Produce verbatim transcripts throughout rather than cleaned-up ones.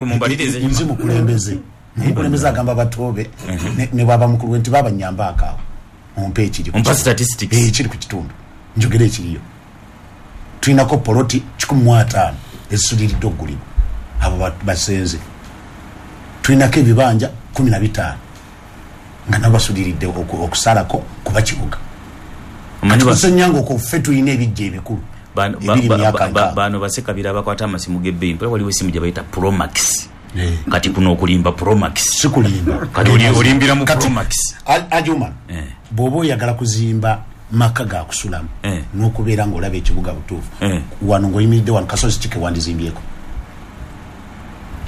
Mumbalirize. Nzi mukulembeze, mukulembeze agamba batoobe ne bwaba mukulu nti baba nyamba akaawo mumpe ekiri Mpa statistics. Eh, ekiri ku kitundu njogere ekiriyo. Tulinako poloti kikumi mu ataano ezisuliridde okugulibwa, abo basenze. Tulinako ebibanja kumi na bitaano nga nabo basuliridde okusalako kuba kibuga. Tusenyanga okuffe tulina ebijja ebikulu. Bano bano basekabira abakwata amasimu g'ebbeeyi, mpula waliwo essimu gye bayita Promax. Kati kuno okulimba Promax. Sikulimba. Kati olimbira mu Promax. Ajuma, bw'oba oyagala kuzimba maka ga kusulamu n'okubeera ng'olaba ekibuga butuufu, wano ng'oyimiridde wano kasozi ki ke wandizimbyeko?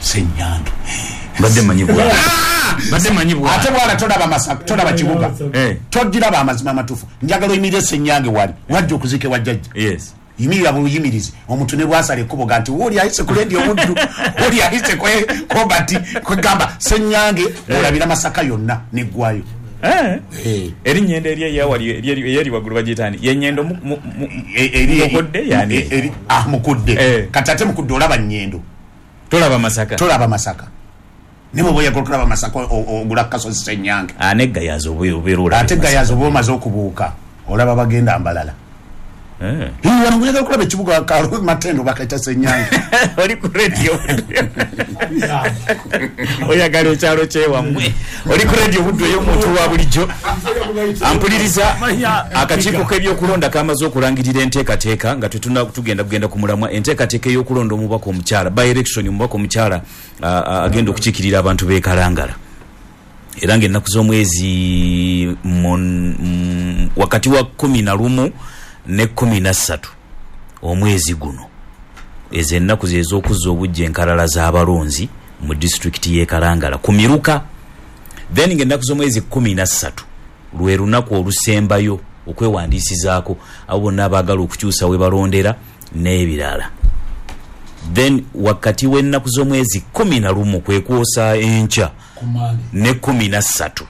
Ssenyange. Mbadde mmanyi bwala. Mbadde mmanyi bwala. Ate bwala tolaba Masaka, tolaba kibuga. Togiraba amazima amatuufu. Njagala oyimirire Ssenyange wali, wajja okuziika ewa jjajja. Yes. Yimirira buluyimirizi omuntu ne bwasala ekkubo ga nti wooli ayise ku leediyo Buddu, wooli ayise Kobati, kwegamba Ssenyange olabira Masaka yonna neggwayo. Eri nnyendo eri eyawali eyeri waggulu bagiyita ani? Ye nnyendo Mukudde yani? Ah, Mukudde. Kati ate Mukudde olaba nnyendo. Tolaba Masaka. Tolaba Masaka. Ne bw'oba oyagala okulaba Masaka ogula kasozi Ssenyange. Ah, ne Gayaza obeera olaba. Ate Gayaza oba omaze okubuuka olaba bagenda Mbalala. Eh. Wano ngoyagala okulaba ekibuga Matendo bakaita Ssenyange. Oli ku radio. Oyagala ekyalo kyewammwe. Oli ku radio Buddu ey'omuntu wa bulijjo. Ampuliriza akakiiko k'ebyokulonda kamaze okulangirira enteekateeka nga tetuna tugenda kugenda ku mulamwa, enteekateeka ey'okulonda omubaka omukyala, by election omubaka omukyala agenda okukiikirira abantu b'e Kalangala. Era ng'ennaku z'omwezi wakati wa kumi na lumu ne kumi na ssatu omwezi guno, ezo ennaku ze ez'okuzza obujja enkalala z'abalonzi mu disitulikiti y'e Kalangala ku miruka. Then ng'ennaku z'omwezi kumi na ssatu lwe lunaku olusembayo okwewandiisizaako abo bonna abaagala okukyusa we balondera n'ebirala. Then wakati w'ennaku z'omwezi kumi na lumu kwe kwosa enkya ne kumi na ssatu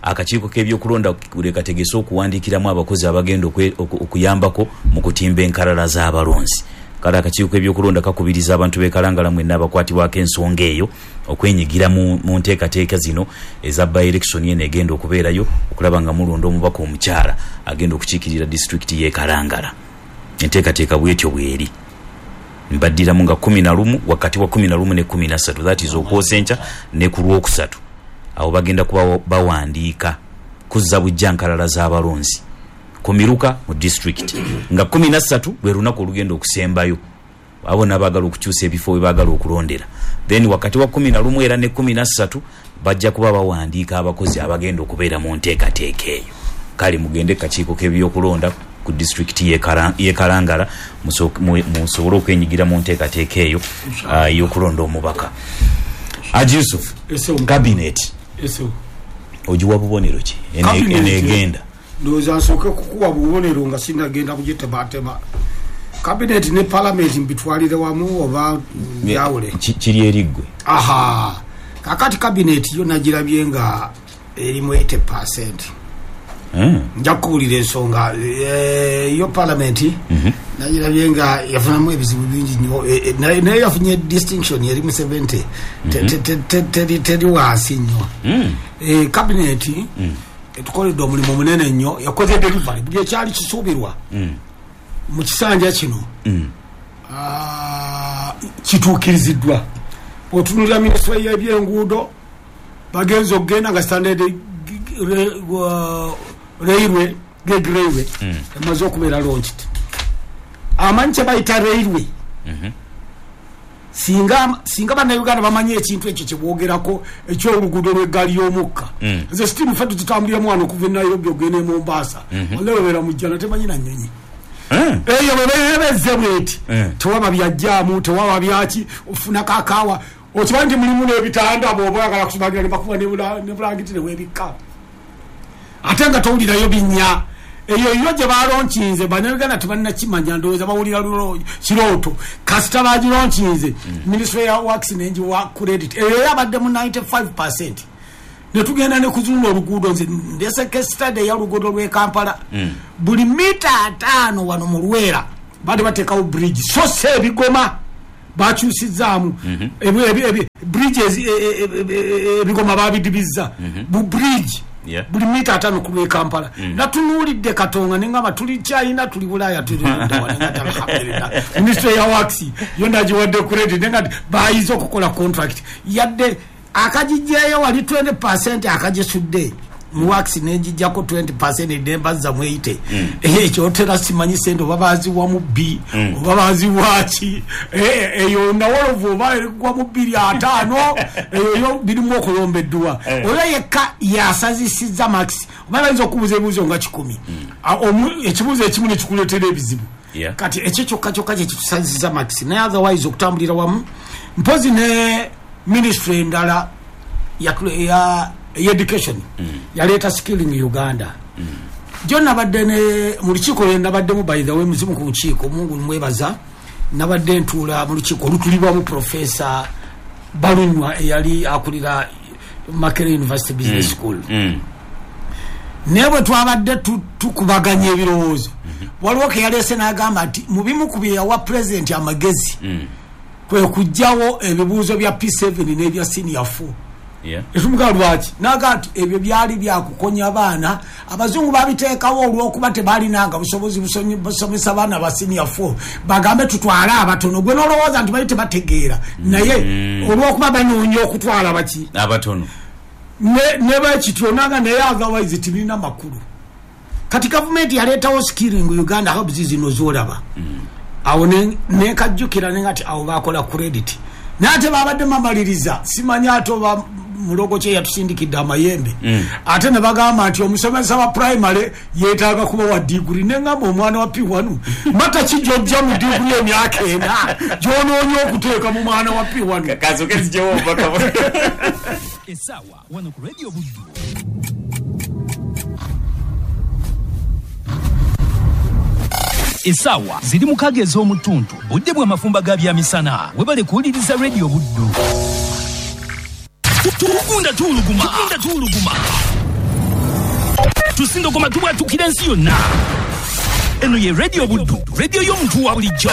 akakiiko k'ebyokulonda kategese okuwandiikiramu abakozi abagenda okuyambako mu kutimba enkalala z'abalonzi. Kale akakiiko k'ebyokulonda kakubiriza abantu b'e Kalangala mwenna abakwatibwako ensonga eyo okwenyigira mu nteekateeka zino eza by election eno egenda okubeerayo okulaba nga mulonda omubaka omukyala agenda okukiikirira disitulikiti y'e Kalangala. Enteekateeka bwetyo bweri. Mbaddiramu nga kumi na lumu wakati wa kumi na lumu ne kumi na ssatu, that is okwosa enkya ne ku lwokusatu. Awo bagenda kuba bawandiika kuzza bujja nkalala z'abalonzi ku miruka mu disitulikiti nga kumi na ssatu lwe lunaku olugenda okusembayo abo n'abaagala okukyusa ebifo we baagala okulondera. Then wakati wa kumi na lumu era ne kumi na ssatu bajja kuba bawandiika abakozi abagenda okubeera mu nteekateeka eyo. Kale mugende kakiiko k'ebyokulonda ku disitulikiti y'e Kalangala musobole okwenyigira mu nteekateeka eyo ey'okulonda omubaka. Haji Yusuf, cabinet ogiwa bubonero ki enegenda? Ndowooza nsooke kukuwa bubonero nga sinnagenda kugitematema. Cabinet ne parliament mbitwalire wamu oba byawule? Kiri eri ggwe. Aha, kakati cabinet yo nagirabye nga erimu eighty percent. Nja kukuwulira ensonga yo parliament nagirabye nga yafunamu ebizibu bingi nnyo, naye yafunye distinction erimu seventy, teri wansi nnyo. Cabinet etukoledde omulimu munene nnyo, yakoze delivery buli ekyali kisuubirwa mu kisanja kino kituukiriziddwa. Otunuulira minisitule y'ebyenguudo bagenze okugenda nga standard railway gate railway emaze okubeera launched. Amanyi kye bayita railway, singa singa bannayuganda bamanyi ekintu ekyo kye boogerako eky'oluguudo lw'eggaali y'omukka. Nze sitiimu ffe tuzitambuliramu wano okuva e Nairobi ogenda e Mombasa, walla webeera mu jjana temanyi na nnyonyi. Eyo bwe beebezze bweti tewaba byajjaamu, tewaba byaki, ofuna kakaawa okimanyi nti mulimu n'ebitanda bw'oba oyagala kusumagira ne bakuba ne bulangiti ne weebikka ate nga towulirayo binnya. Eyo yo gye balonkinze bannayuganda tebannakimanya, ndowooza bawulira kirooto. Kasita bagilonkinze minisitule ya works nengiwa credit eyo yabadde mu ninety-five percent. Ne tugenda ne kuzunga oluguudo, nze ndese case study ey'oluguudo lw'e Kampala. Buli mita ataano wano mu Lwera baali bateekawo bridge, so si ebigoma Bakyusizaamu bridges, ebigoma babidibizza bu bridge buli mita ataano ku lw'e Kampala. Natunuulidde Katonga nengamba tuli China, tuli Bulaaya, tuli alhamdulillah. Ministry ya works yo ndagiwadde credit, nenga bayize okukola contract yadde akagijjayo wali twenty percent akagisudde mu works nenjijjako twenty percent nembaza mweyite. Ekyo otera simanyi sente oba baziwa mu B oba baziwa ki, eyo nawolovu oba erigwa mu bbiri ataano, eyo yo birimu okulomba edduwa. Oyo yekka yasazisizza max oba bayinza okubuuza ebibuuzo nga kikumi, ekibuuzo ekimu ne kikuleetera ebizibu. Kati ekyo kyokka kyokka kye kitusazisizza max, naye otherwise okutambulira wamu mpozi ne ministry endala ya education mm. yaleeta skilling Uganda. mm. Jo nabadde ne mu lukiiko lwe nabaddemu, by the way muzimu ku nkiiko, Mungu mwebaza, nabadde ntuula mu lukiiko olutulibwamu Professor Balunywa eyali akulira Makerere University Business mm. School. mm. Naye bwe twabadde tukubaganya ebirowoozo, mm -hmm. waliwo ke yaleese n'agamba nti mu bimu ku bye yawa President amagezi mm. kwe kuggyawo ebibuuzo bya P seven n'ebya senior four. Etumuga lwaki naga nti ebyo byali byakukonya abaana, abazungu babiteekawo olw'okuba tebalinanga busobozi busomesa baana ba senior four, bagambe tutwale abatono. Gwe n'olowooza nti bali tebategeera, naye olw'okuba banoonya okutwala baki abatono ne bakityo naga, naye otherwise tibirina makulu. Kati gavumenti yaleetawo skilling Uganda hubs zino z'olaba awo nekajjukira nenga ti awo bakola credit, naye ate babadde mamaliriza simanyi ate oba mulogo kye yatusindikidde amayembe, ate ne bagamba nti omusomesa wa primary yeetaaga kuba wa diguri. Nengamba omwana wa P one mata kijojja mu diguri emyaka ena gy'onoonya okuteeka mu mwana wa P one. Essaawa wano ku Radio Buddu. Essaawa ziri mukaaga ez'omutuntu, budde bw'amafumba ga byamisana. Webale kuwuliriza Radio Buddu. Tugunda tuuluguma, tugunda tuuluguma, tusindogoma tubwatukira ensi yonna. Eno ye Radio Buddu, radio y'omuntu wa bulijjo.